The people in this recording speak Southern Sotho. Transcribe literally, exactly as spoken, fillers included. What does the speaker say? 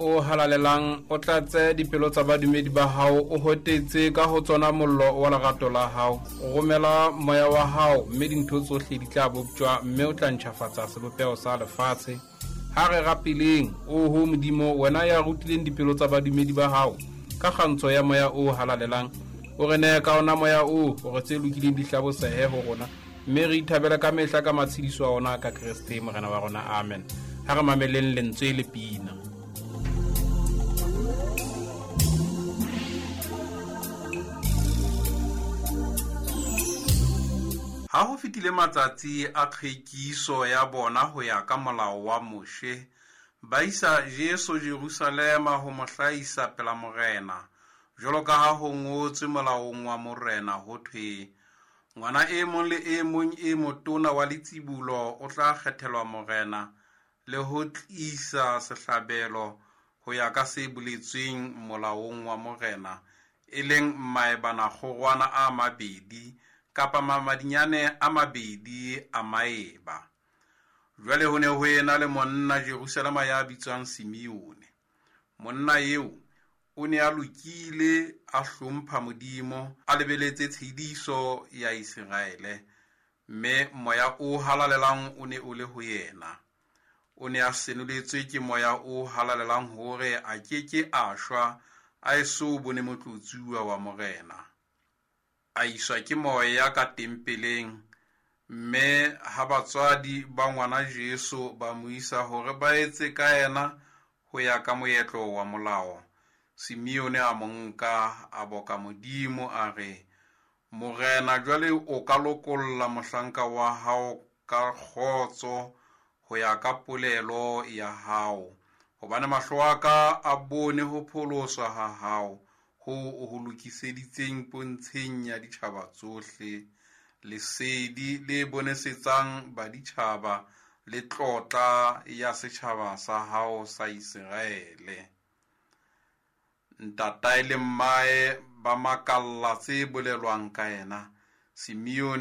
O halalelang, o tlatse dipelo tsa badumedi ba hao, o hotetse ka ho tsona mollo wa lerato la hao. O romela moya wa hao, mme dintho tsohle di tla boptjwa, mme o tla ntjhafatsa sebopeho sa lefatshe. Ha re rapeleng, oho Modimo, wena ya rutileng dipelo tsa badumedi ba hao ka kgantsho ya moya o halalelang, o re nehe ka ona moya oo hore tse lokileng di hlabosehe ho rona, mme re ithabele ka mehla ka matshediso a ona ka Kreste Morena wa rona. Amen. Ha re mameleng lentswe le pina. Ha ho fetile matsatsi a tlhwekiso ya bona ho ya ka molao wa Moshe, ba isa Jesu Jerusalema ho mo hlahisa pela Morena, jwalo ka ha ho ngotswe molaong wa Morena ho thwe, ngwana e mong le e mong e motona wa letsibolo o tla kgethelwa Morena le ho tlisa sehlabelo ho ya ka se boletsweng molaong wa Morena, e leng maebana-kgorwana a mabedi kapa mamadinyane a mabedi a maeba. Jwale ho ne ho ena le monna Jerusalema ya bitswang Simeone. Monna eo o ne a lokile, a hlompha Modimo, a lebeletse tshediso ya Iseraele, mme moya o halalelang o ne o le ho yena. O ne a senoletswe ke moya o halalelang hore a ke ke a shwa a eso bone motlotsuwa wa Morena. A iswa ke moya ka tempeleng, mme ha batswadi ba ngwana Jesu ba mo isa hore ba etse ka yena ho ya ka moetlo wa molao, Simeone a mo nka, a boka Modimo, a re, Morena, jwale o ka lokolla mohlanka wa hao ka kgotso ho ya ka polelo ya hao, hobane mahlo a ka a bone ho pholoswa ha hao, ho o ho lokiseditseng pontsheng ya ditjhaba tsohle, lesedi le bonesetsang baditjhaba le tlotla ya setjhaba sa hao sa Iseraele. Ntatae le mmae ba makalla tse bolelwang ka yena. Simeone